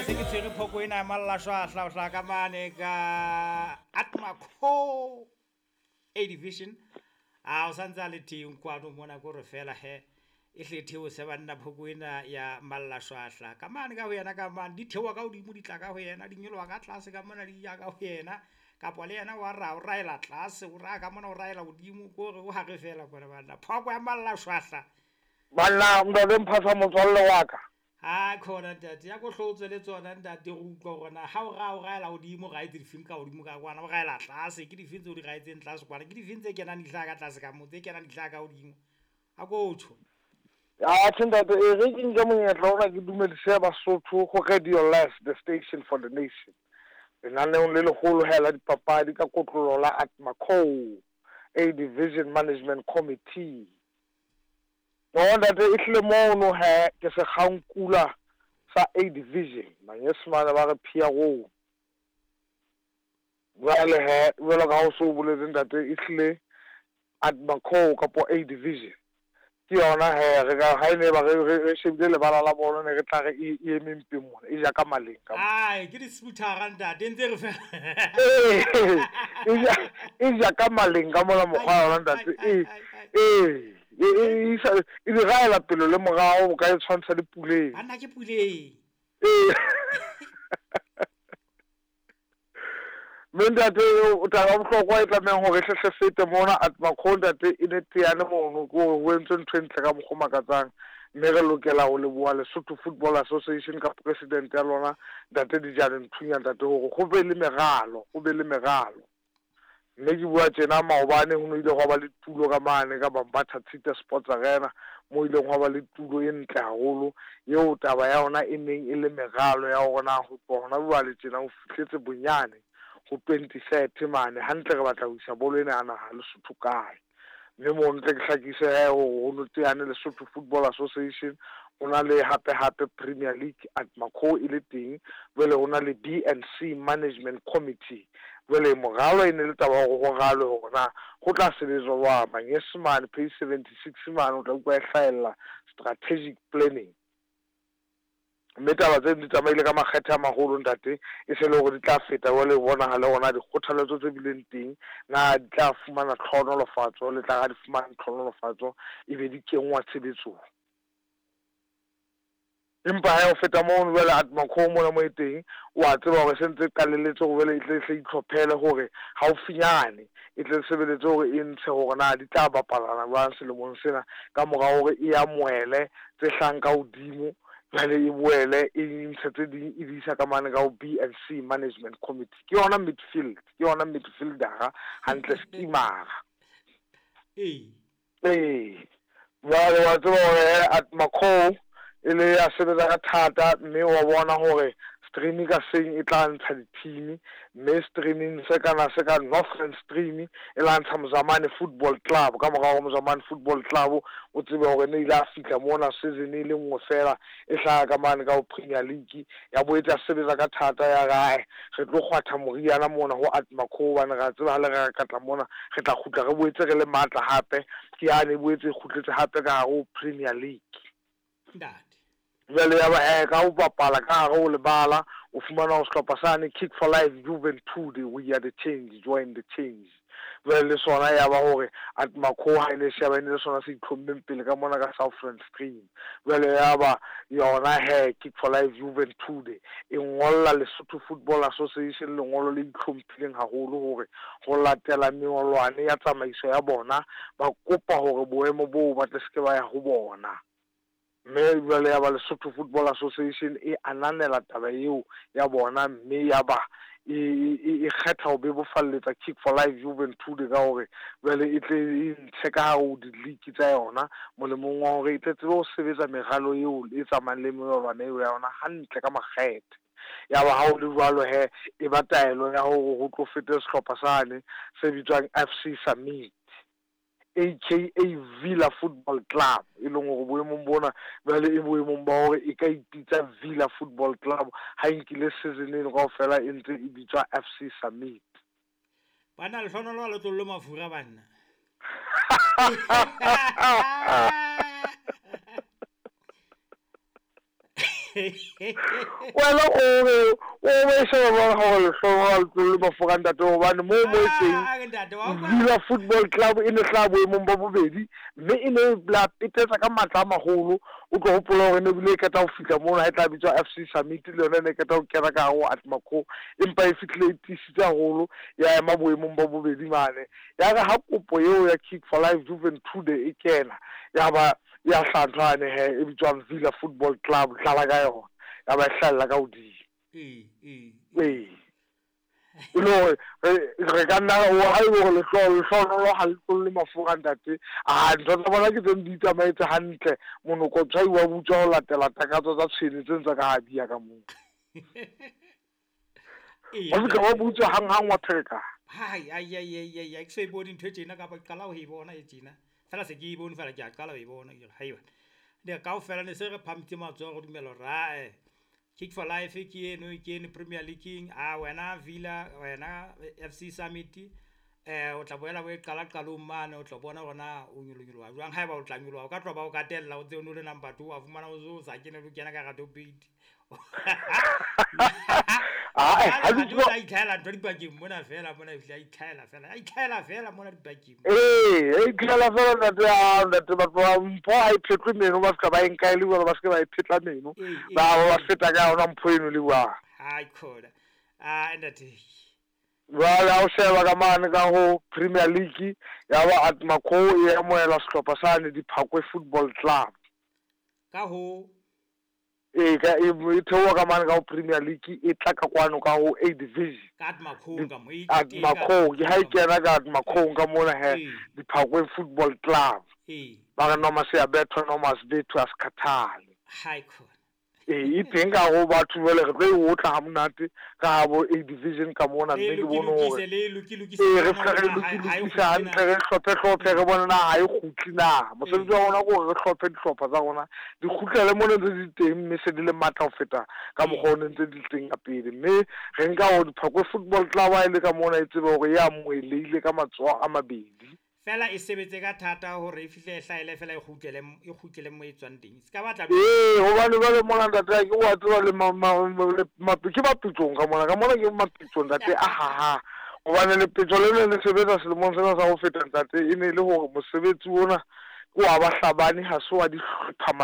Se ke tshwere phoko ena ya mallashwahla ho hlaha ka mane ka Atmaco A Division. A o santse a le teng kwano mona, ko re fela he e hle theose banna phoko ena ya mallashwahla ka mane ka ho yena, ka mane di theoha ka hodimo, di tla ka ho yena, di nyoloha ka tlase ka mona, di ya ka ho yena, kapa le yena wa ra o raela tlase, o raya ka mona, o raela hodimo, ko re o hare fela kwana banna phoko ya mallashwahla. Banna ntate Mphasa motswalle wa ka. Ha khona ntate, ya ko hlotswe le tsona ntate, re utlwa hore na ha o raya o raela hodimo, o raetse difeng ka hodimo ka kwana, o raela tlase ke difeng tseo di raetseng tlase kwana, ke difeng tse kenang di hlaha ka tlase ka moo, tse kenang di hlaha ka hodimo, a ko tjho. Atjhe ntate, e re ke nke monyetla ona ke dumedise Basotho go Radio Life, the station for the nation. Lenaneong le leholo he la dipapadi ka kotlolo la Atmaco A Division Management Committee. No ntate, e hlile mono he ke sekgankula sa A Division, Manyesemane ba re PRO. Jwale he, jwalo ka ha o so boletse ntate, e hlile Atmaco kapo A Division ke yona he re ka ha e ne ba re shebile lebala la bolo, ne re tla re e eme mpeng mona, e ja ka maleng ka mona. Ai, ke di-sputhara ntate, ntse re fela. E ja ka maleng ka mona mokgwa yona ntate. E e isa e di raela pele le morao, o ka e tshwantsha le Puleng. Banna ke Puleng. Ee. Mme ntate, taba ya bohlokwa e tlamehang hore e hle fete mona Atmaco ntate, e ne teane mono ke hore ho entswe ntho e ntle ka mokgwa o makatsang, mme re lokela ho leboha Lesotho Football Association ka president ya lona ntate Dijane Nthunya ntate, hore ho be le meralo, ho be le meralo. Mme ke bua tjena, maobane ho no ile hwa ba le tulo ka mane ka Bambatha Tshite Sports Arena, mo ileng hwa ba le tulo e ntle haholo eo taba ya yona e neng e le meralo ya hore na ho tloha hona jwale tjena ho fihletse bonyane ho 2030 mane hantle re batla ho isa bolo ena ya naha Lesotho kae. Mme moo ntle ke hlakise he hore ho no teane Lesotho Football Association, ho na le hape hape Premier League Atmaco e le teng, jwale ho na le B and C Management Committee. Jwale moralo e ne le taba ya hore ho ralwe hore na ho tla sebetswa jwang. Manyesemane page 76 mane o tla utlwa e hlahella strategic planning. Mme taba tseno di tsamaile ka makgethe a maholo ntate, e se le hore di tla feta jwale ho bonahale hore na dikgothaletso tse bileng teng na di tla fumana tlhohonolofatso, le tla ha di fumane tlhohonolofatso e be di kenngwa tshebetsong. Empa he ho feta mono jwale Atmaco mona mo e teng, o a tseba hore se ntse e qalelletse hore jwale e tle hle itlhophele hore haufinyane e tle sebeletse hore e ntshe hore na di tla bapalana jwang selemong sena, ka mora hore e amohele tse hlahang ka hodimo, jwale e boele e ntshe tse ding e di isa ka mane ka ho B and C Management Committee. Ke yona midfield, ke yona midfieldera hantle, skimara. Ee. Ee. Jwale wa tseba hore Atmaco e le ya sebetsa ka thata, mme wa bona hore stream ka seng e tla ntsha di-team, mme streaming se kana se ka Northern Stream e la ntsha Mozamane Football Club. Ka mora hore Mozamane Football Club o tsebe hore ne ile a fihla mona season e le nngwe fela e hlaha ka mane ka ho Premier League, ya boetse ya sebetsa ka thata ya re ae re tlo kgwatha moriana mona ho Atmaco, hobane re a tseba ha le re ka tla mona re tla kgutla re boetse re le matla hape. Ke yane e boetse e kgutletse hape ka hare ho Premier League. Ntate. Jwale ya ba he ka ho bapala ka hare ho lebala, o fumana hore sehlopha sane Kick for Life Juventude, we are the change, join the change. Jwale le sona ya ba hore Atmaco ha e ne sheba e ne le sona se itlhommeng pele ka mona ka Southern Stream. Jwale ya ba yona he Kick for Life Juventude e ngolla Lesotho Football Association lengolo le itlhomphileng haholo hore ho latela mengolwane ya tsamaiso ya bona, ba kopa hore boemo boo ba tle se ke ba ya ho bona. Mme jwale ya ba Lesotho Football Association e ananela taba eo ya bona, mme ya ba e kgetha ho bebofalletsa Kick for Life Juventude ka hore jwale e tle e ntshe ka hare ho di-league tsa yona, molemong wa hore e tle tsebe ho sebetsa meralo eo e tsamayang le melawana eo ya yona hantle ka makgethe. Ya ba ha ho le jwalo he, e ba taelo ya hore ho tlo fete sehlopha sane se bitswang FC Summit, aka Villa Football Club, e leng hore boemong bona jwale e boemong ba hore e ka ipitsa Villa Football Club ha e nkile season eno kaofela e ntse e bitswa FC Summit. Banna lehlohonolo ha le tlollwe mafura banna. Wena o re o e sheba jwang gore lehlohonolo ha le tlolle mafura ntate, hobane moo mo e teng Ah, ntate wa utlwa? Villa Football Club e ne hlaha boemong ba bobedi, mme e ne la petetsa ka matla a maholo. O tlo hopola hore ne bile e qeta ho fihla mono ha e tla bitswa FC Summit, le yona e ne e qeta ho kena ka hare ho Atmaco, empa e fihlile e tiisitse haholo, ya ema boemong ba bobedi mane. Ya re ha kopo eo ya Kick for Life Juventude e kena, ya ba ya hlaha ntho yane he e bitswang Villa Football Club, dlala ka yona, ya ba e hlahella ka hodimo. Ee, ee. Ee, e le hore re ka nna ha e le hore lehlohonolo ha le tlolle mafura ntate, a ntho tsa bona ke tseng di itsamaetse hantle, monokotshwai wa butswa ho latela takatso tsa tshwene tse ntse ka ha di ya ka moo. Ee, Wa fihla wa ntate. butswa hanghang wa pherekana. Hai, ai, ai, ai, ai, ai, ke so e bone ntho e tjena, kapa ke qala ho e bona e tjena. Fela se ke e bone fela ke a qala ho e bona. Ke re, haiba. Ne kaofela ne se re phamitse matsoho re dumela hore ae, Kick for Life ke eno, ke eno Premier League-ing. A wena Villa, wena FC Summit, o tla boela o e qala qalong mane, o tla bona hore na o nyolonyoloha jwang. Haeba o tla nyoloha, o ka tloha ba o katella, o tse o no le number 2, wa fumana o so sa kene le ho kena ka hara top 8. Ae, Jwale ha ha ke di tswa o tla itlhahela ntho dipakeng mona fela mona, ehlile a itlhahela fela, a itlhahela fela mona dipakeng. Ee, e itlhahela fela ntate, a ntate batho ba mpho ha e phetlwe meno, ba fihla ba e nka e le jwalo, ba se ke ba e phetla meno, Ee, ee, ba ba ee. feta ka yona mpho eno le jwang. Hai khona. Ah, ntate. Jwale ha o sheba ka mane ka ho Premier League, ya ba Atmaco e amohela sehlopha sane Diphakwe Football Club. Ka ho Ee, ka e theoha ka mane ka ho Premier League, e tla ka kwano ka ho A Division. Ka Atmaco ka mo e teng ka Atmaco, ke ha e kena ka Atmaco ka mona he, Ee. Diphakwe Football Club. Ee. Ba re noma se ya bethwa, noma se bethwe, a se khathale. Hai khona. Ee, e teng ka ho batho jwale re tlo e otla ha monate ka ha bo A Division ka mona, Le mme ke bone lokilokise, hore le lokilokise ee, re bona fihla re hore na ha e lokilokisa kgutle hantle, na. re hlophe hlophe, re bone na ha e kgutle na. Mosebetsi Ee. wa rona ke hore re hlophe dihlopha tsa rona, di kgutlele mo ne ntse di teng, mme se di le matla ho feta ka Ee. mokgwa o ne ntse di le teng ka pele. Mme re nka hore Diphakwe Football Club ha e le ka mona e tsebe hore e amohelehile ka matsoho a mabedi. Fela e sebetse ka thata hore e fihle e hlahele fela e kgutlele, e kgutlele mo e tswang teng. Se ka batla Ee, hobane jwale mona ntate ha ke wa tseba le ke mapitsong ka mona, ka mona ke mapitsong ntate a haha. Hobane lepetjo le ne le sebetsa selemong sena sa ho feta ntate, e ne le hore mosebetsi ona ke wa bahlabani, ha se wa dihlopha.